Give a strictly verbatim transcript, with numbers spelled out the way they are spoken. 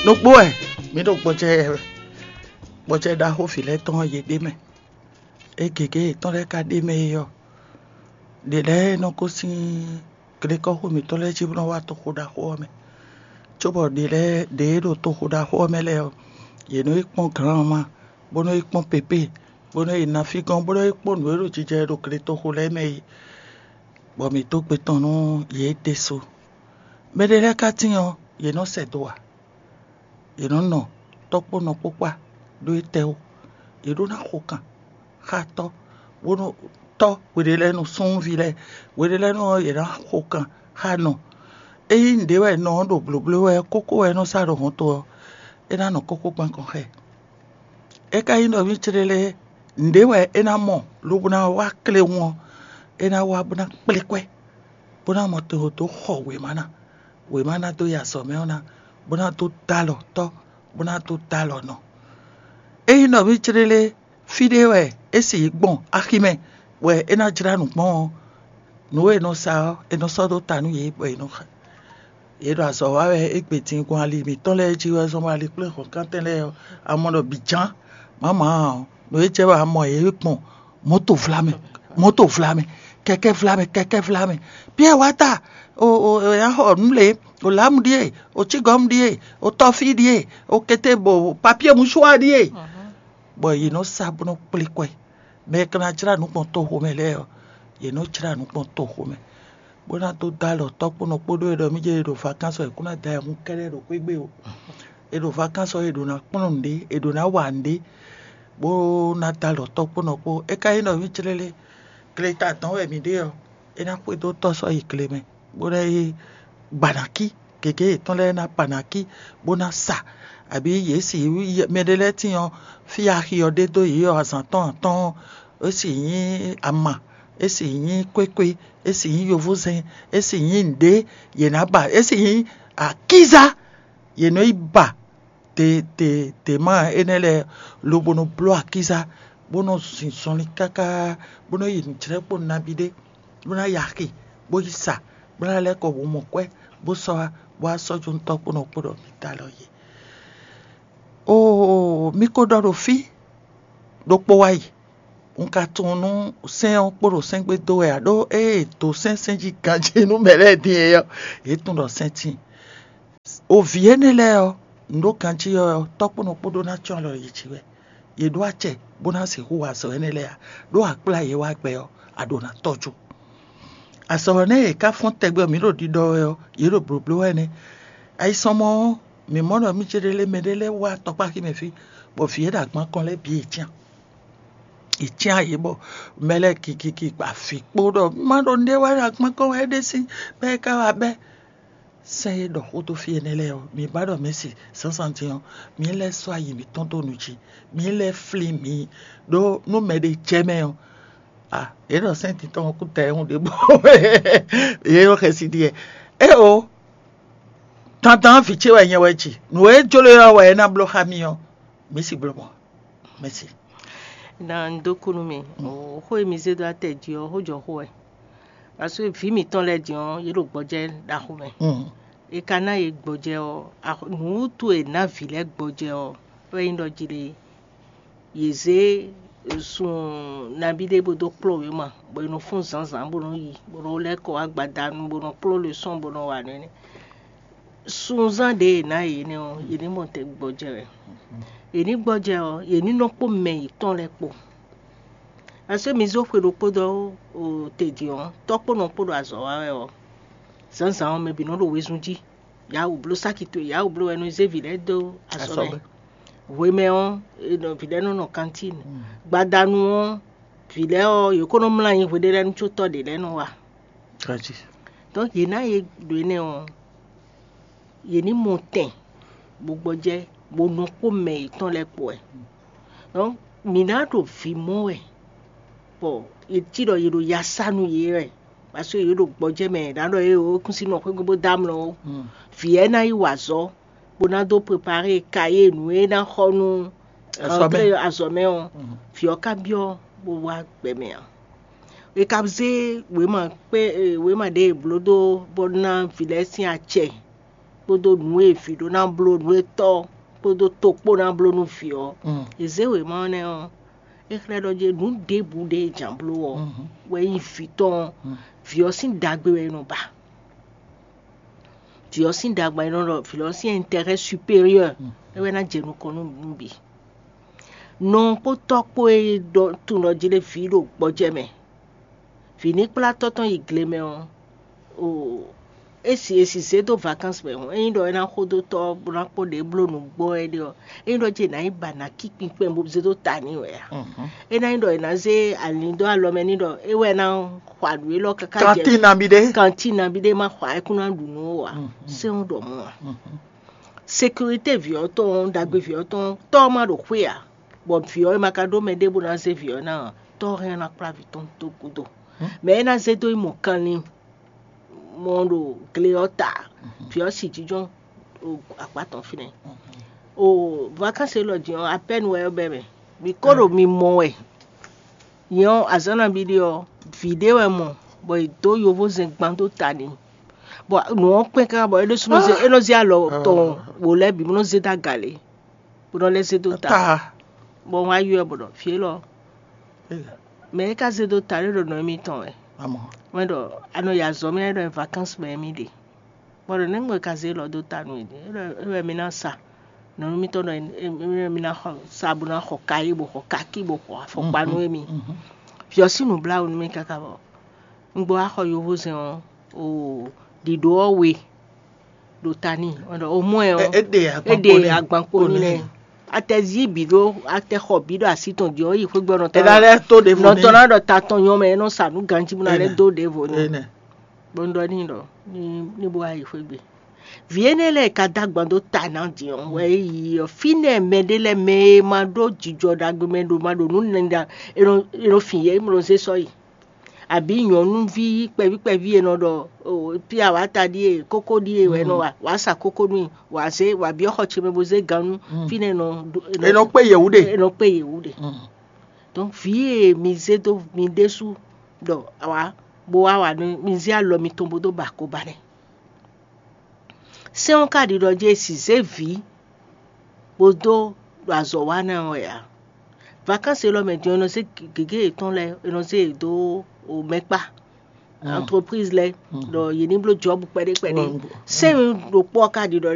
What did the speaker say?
Ɖokpó wɛ mǐ ɖo gbɔjɛ gbɔjɛ ɖaxó vǐ lɛ́ɛ tɔn yě ɖ'é mɛ. É gěgé yětɔn lɛ́ɛ ka ɖ'é mɛ é ɔ́, ɖě lɛ́ɛ nɔ gosín glekɔ́xo mǐtɔn lɛ́ɛ jí bó nɔ́ wá toxo ɖaxó ɔ́ mɛ. Cóbɔ ɖě lɛ́ɛ ɖě e ɖo toxo ɖaxó ɔ́ mɛ lɛ́ɛ ɔ́, yě nɔ yi kpɔ́n glǎnma, bó nɔ́ yi kpɔ́n pépé, bó nɔ́ yi nafí gɔ́n, bó nɔ́ yi kpɔ́n nǔ e ɖo jijɛ ɖo gletoxo lɛ́ɛ mɛ é, bɔ mǐ dó gbe tɔn nú yě ɖésú. Mɛɖé lɛ́ɛ ka tíin ɔ́, yě nɔ sɛ do ǎ. Yě nɔ nɔ tɔ́ kpó nɔ kpó kpá ɖó étɛ́ ó. Yě ɖó ná xo kan xá tɔ́, bónú tɔ́ hweɖé lɛ́ɛ nú súnnuví lɛ́ɛ, hweɖé lɛ́ɛ nú ɔ́, yě ná xo kan xá nɔ. Ényí nǔɖé wɛ nɔ ɔ́ ɖo blǒbló wɛ, kókó wɛ é nɔ sá ɖo hɔnto ɔ́, é ná nɔ kókó gbɔn kɔn xá ɛ. É ka nyí ɖɔ mì céɖélé nǔɖé wɛ é ná mɔ lobo ná wá kléwún ɔ́, é ná wá bó ná kplé kwɛ́, bó ná mɔ to dó xɔ wěma ná. Wěma ná dó yi azɔ̌ mɛ ɔ́ ná, bó ná dó dó alɔ tɔ́, bó ná dó dó alɔ nɔ. Ényí nɔví céɖélé fí ɖé wɛ é sì yi gbɔn aximɛ wɛ é ná jlá nǔ gbɔn ɔ́, nǔ e è nɔ sa ɔ́, è nɔ sɔ́ dó ta nú yě bɔ è nɔ xa. Yě ɖo azɔ̌ wa wɛ égbé din gbɔn ali mǐtɔn lɛ́ɛ jí wɛ zɔn bɔ ali kplé hɔ̌nkántɛn lɛ́ɛ ɔ́, a mɔ ɖɔ bǐ ján mǎmǎ ɔ́, nǔ e jɛ wɛ a mɔ yě gbɔn mɔ̌to vlamɛ, mɔ̌to vlamɛ, kɛkɛ́ vlamɛ, kɛkɛ́ vlamɛ. Piyɛ́ɛ wá ta, o o o ya xɔ nǔ lě, o lǎmu ɖíe, o cígɔ́mu ɖíe, o tɔ́fí ɖíe, o kété bo papíe musuwa ɖíe. Bɔ yě nɔ sa bó nɔ kplé kwɛ. Mɛ e ka ná jlá nǔ gbɔn toxo mɛ lɛ́ɛ ɔ́, yě nɔ jlá nǔ gbɔn toxo mɛ, bó ná dó dó alɔ tɔ́ kpó nɔ kpódó e ɖɔ mí jɛ e ɖo vakánsɔ è kún ná da ayihún kɛ́ɖɛ́ ɖo xwé gbe o. È ɖo vakánsɔ e ɖǒ ná kplɔ́n nǔɖé, è ɖǒ ná wa nǔɖé, bó ná dó alɔ tɔ́ kpó nɔ kpó. É ka nyí nɔví clélé, gleta dɔn wɛ mǐ ɖe ɔ́, é ná xwedó tɔ́ sɔ́ yi gle mɛ, bó ná yi gbanakí, gěgé yětɔn lɛ́ɛ ná gbanakí, bó ná sa, abǐ yě si mɛɖé lɛ́ɛ tíin ɔ́, fí axi ɔ́ ɖe dó yě ɔ́, azǎn tɔn atɔ́ɔ́n, é si nyí ama, é si nyí kwékwe, é si nyí yovózɛn, é si nyí nǔɖé, yě ná ba, é si nyí akízá, yě nɔ yi ba te te te ma énɛ́ lɛ́ɛ, lobo nɔ bló akízá, bó nɔ zin zɔnlin káká, bó nɔ yi nǔjlɛ́kpo nabí ɖé, bó ná yi axi, bó yi sa, bó ná lɛ́ kɔ wǔ mɔ kwɛ́, bó sɔ́ wá, bó wá sɔ́ jó nú tɔ́ kpó nɔ kpó ɖɔ mǐ da alɔ yě. Oo, mi ko ɖɔ ɖo fí ɖokpó wá yi. Un ka tunwun nú sɛ́n ɔ́ kpo ɖo sɛ́n gbe dó wɛ ǎ, ɖó ée è dǒ sɛ́n sɛ́n jí ganjí nú mɛ lɛ́ɛ din é ɔ́, yě tunwun ɖɔ sɛ́n tíin. O vǐ énɛ́ lɛ́ɛ ɔ́, nǔ ɖo ganjí ɔ́, tɔ́ kpó nɔ kpó ɖó ná cɔ́n alɔ yě jí wɛ. Yě ɖó acɛ bó ná sixú wa azɔ̌ énɛ́ lɛ́ɛ ǎ, ɖó a kplá yě wá gbɛ ɔ́, a ɖǒ ná tɔ́jú. Azɔ̌ énɛ́ e yě ká fɔ́n tɛgbɛ mǐ ɖo ɖiɖɔ wɛ ɔ́, yě ɖo blǒbló wɛ nɛ́. Ayisɔmɔ ɔ́, mǐ mɔ ɖɔ mí céɖélé mɛɖé lɛ́ɛ wá tɔkpáxi mɛ fí, bɔ vǐ e ɖo agban kɔn lɛ́ɛ bǐ yě cyán. Yě cyán yě bɔ mɛ lɛ́ɛ gigigi gba vǐ kpó ɖɔ má ɖo nɖé wá ɖo agban kɔn wɛ é ɖésú bɔ é ka wá bɛ́. Sɛ́n e ɖɔ xó dó fí énɛ́ lɛ́ɛ ɔ́, mi ba ɖɔ mɛ̌si zǎnzǎn din ɔ́, mi lɛ́ sɔ́ ayi mǐtɔn dó nu jí, mi lɛ́ flín mi, ɖó nú mɛɖé jɛ mɛ ɔ́, a yě ɖɔ sɛ́n din tɔn ɔ́ kú ta ɛhún ɖěbǔ. Yě ɖo xɛsi ɖiɛ. Éeǒ, dandan vǐ ce wɛ nyɛ wɛ ji. Nǔ e jló ɔ́ wɛ é ná bló xá mi ɔ́, mǐ si bló mɔ̌. Mɛ̌si. Na un dó kú nú mi. Xó e mi zé dó atɛ jí ɔ́, xó jɔ xó wɛ. Parce que vǐ mǐtɔn lɛ́ɛ din ɔ́, yě ɖo gbɔjɛ́ ɖaxó mɛ. È ka ná yě gbɔjɛ́ ɔ́, nǔ wútu e è nǎ vǐ lɛ́ɛ gbɔjɛ́ ɔ́, wɛ nyí ɖɔ jí ɖe yě zé sun nabí ɖé bó dó kplɔ́ wěma, bɔ è nɔ fɔ́n zǎnzǎn bó nɔ́ yi, bó nɔ́ lɛ́ kɔ wá gbadanu, bó nɔ́ kplɔ́ lɛsɔ́n, bó nɔ́ wa nǔ énɛ́. Sunzán ɖě è nǎ yě nɛ́ ɔ́, yě ní mɔ tɛn gbɔjɛ́ wɛ. Yě ní gbɔjɛ́ ɔ́, yě ní nɔ kpó mɛ yětɔn lɛ́ɛ kpó. Asú mi zó xwe ɖokpó dó te din ɔ́, tɔ́ kpó nɔ kpó ɖo azɔ̌ wa wɛ ɔ́, zǎnzǎn ɔ́, mɛ bǐ nɔ ɖo wezun jí. Yǎ wǔ bló sáki towe, yǎ wǔ bló wɛ nɔ zé vǐ lɛ́ɛ dó azɔ̌ mɛ. Hwemɛ ɔ́, vǐ lɛ́ɛ nɔ nɔ kantín. Gbadanu ɔ́, vǐ lɛ́ɛ ɔ́, yě ko nɔ mlá anyi hweɖé lɛ́ɛ nú có tɔ́ ɖě lɛ́ɛ nɔ wa. Donc yě ná yě ɖo énɛ́ ɔ́, yě ní mɔ tɛn bó gbɔjɛ́, bó nɔ kpó mɛ yětɔn lɛ́ɛ kpó wɛ. Donc mǐ ná ɖo vǐ mɔ wɛ, bɔ è cí ɖɔ è ɖo ya sá nú yě wɛ, parce que yě ɖo gbɔjɛ́ mɛ, è nǎ ɖɔ é o kún sí nɔ xwégbe bó dó amlɔ ó. Vǐ ɛ ná yi wa azɔ̌, bó ná dó prepare kayé nǔ e ná xɔ nú azɔ̌ mɛ ɔ́, vǐ ɔ́ ka byɔ́ bó wá gbɛ mɛ ǎ. È ka zé wěma kpé wěma ɖě è blǒ dó bó ná vǐ lɛ́ɛ sín acɛ. kpódó nǔ e vǐ ɖó ná bló, nǔ e tɔ́ kpódó to kpó ná bló nú vǐ ɔ́, è zě wěma ɔ́ nɛ́ ɔ́, é xlɛ́ ɖɔ jɛ nǔ ɖěbǔ ɖé e jǎn bló ɔ́ wɛ nyí vǐ tɔn ɔ́, vǐ ɔ́ sín ɖagbe wɛ è nɔ ba. Vǐ ɔ́ sín ɖagbe wɛ è nɔ ɖɔ vǐ ɔ́ sín intérêt supérieur é wɛ ná jɛ nukɔn nú nǔ bǐ. Nɔ kpó tɔ́ kpó e ɖɔ tunwun ɖɔ jí ɖé vǐ ɖo gbɔjɛ́ mɛ, vǐ ní kplá tɔ́ tɔn yi gle mɛ ɔ́, o é si è si zé dó vacances mɛ hɔn, ényí ɖɔ é ná xó dó tɔ́ bó ná kpɔ́ ɖě bló nǔgbó wɛ é ɖe ɔ́, ényí ɖɔ jí è nǎ yi ba nǎ kí kpinkpɛn bó zé dó ta n'i wɛ a? Ényí ná nyí ɖɔ è nǎ zé ali dó alɔ mɛ n'i ɖɔ é wɛ ná xɔ nǔ élɔ́ káká jɛ kantín nabí ɖé kantín nabí ɖé má xɔ ayɛkún ná ɖu nǔ ó a? Sɛ́n ɖɔ mɔ̌ a? Sécurité vǐ ɔ́ tɔn, ɖagbe vǐ ɔ́ tɔn, tɔ́ ɔ́ má ɖo xwé ǎ, bɔ vǐ ɔ́ e ma ka ɖó mɛ ɖěbǔ ná zé vǐ ɔ́ ná ɔ́, tɔ́ ɔ́ hɛn ɔ́ ná kplá vǐ tɔn dó gúdo. Mɛ é ná zé dó yi mɔ kanlin mɔ ɖo gle ɔ́ ta, vǐ ɔ́ si jínjɔ́n ɖo akpá tɔn fínɛ́. O vacances élɔ́ din ɔ́, apɛ́nu wɛ ɔ́ bɛ́ mɛ. Mi ko ɖo mi mɔ wɛ. Nyɛ ɔ́, azǎn nabí ɖé ɔ́, vǐ ɖé wɛ mɔ, bɔ è dǒ yovózɛn gban dó ta n'i. Bɔ nǔ ɔ́ kpɛ́n káká bɔ é ɖésúnɔ zé é nɔ zé alɔ tɔn wǒ lɛ́ɛ bǐ bó nɔ zé dó aga lě, bó nɔ lɛ́ zé dó ta. Bɔ un wá ylɔ́ ɛ bɔ ɖɔ: "Vǐ élɔ́, mɛ e ka zé dó ta lɛ́ɛ ɖo nɔ émítɔn wɛ." Wɛn ɖɔ a nɔ yi azɔ̌ mɛ ɖɔ vacances mɛ émí ɖe. Bɔ ɖo nɛ̌ gbɔn è ka zé lɔ dó ta nú yě? É wɛ mi ná sa. Nɔnɔ mitɔn ɖɔ mi ná xɔ sa bó ná xɔ kayí bó xɔ kakí bó xɔ afɔkpa nú émi. Vǐ ɔ́ sín nǔbláwǔ nú mì káká bɔ un gbɔ wá xɔ yovózɛn ɔ́, o ɖiɖo ɔ́ we ɖo ta n'i. Wɛn ɖɔ o mɔ ɛ ɔ́, é ɖe agbankpo n'i lɛ. Atɛzí bǐ ɖó atɛxɔ bǐ ɖo así tɔn jí ɔ́, yi xwé gbɔ nɔ tɔn. Ná lɛ́ tó ɖěvo nɔ tɔn ná ɖɔ ta tɔn nyɔ mɛ é nɔ sa nú ganjí bó ná lɛ́ dó ɖěvo n'i. Bó un ɖɔ n'i ɖɔ ní ní bó wá yi xwé gbe. Vǐ énɛ́ lɛ́ɛ ka dó agban dó ta ná din ɔ́, wɛ é yi ɔ́, fínɛ́ mɛɖé lɛ́ɛ mɛ e ma ɖó jijɔ ɖagbe mɛ ɖo ma ɖo nǔ nɛnɛ ɖa, è nɔ è nɔ fin yě, è nɔ zé sɔ́ yi. Àbí nyɔ̌nuví kpɛví kpɛví e nɔ ɖɔ o, fí awǎta ɖíe, kókó ɖíe wɛ è nɔ wa, wǎ sa kókó nú i, wǎ zé wǎ byɔ́ xɔ ce mɛ bó zé gannú, fínɛ́ è nɔ ɖó- È nɔ kpé yěwú ɖe. È nɔ kpé yěwú ɖe. Donc vǐ e mi zé dó mi ɖésú ɖɔ awǎ bó wá wa nú mi zé alɔ mitɔn bó dó ba ko ba nɛ́. Sɛ́n ɔ́ ka ɖiɖɔ jí è si zé vǐ bó dó ɖo azɔ̌ wa ná wɛ ǎ. Vakansi élɔ́ mɛ din ɔ́, è nɔ zé gěgé yětɔn lɛ́ɛ, è nɔ zé yě dó mɛkpá, entreprise lɛ́ɛ, ɖɔ yě ní bló jɔ́bu kpɛɖé kpɛɖé. Sɛ́n ɖokpó ɔ́ ka ɖiɖɔ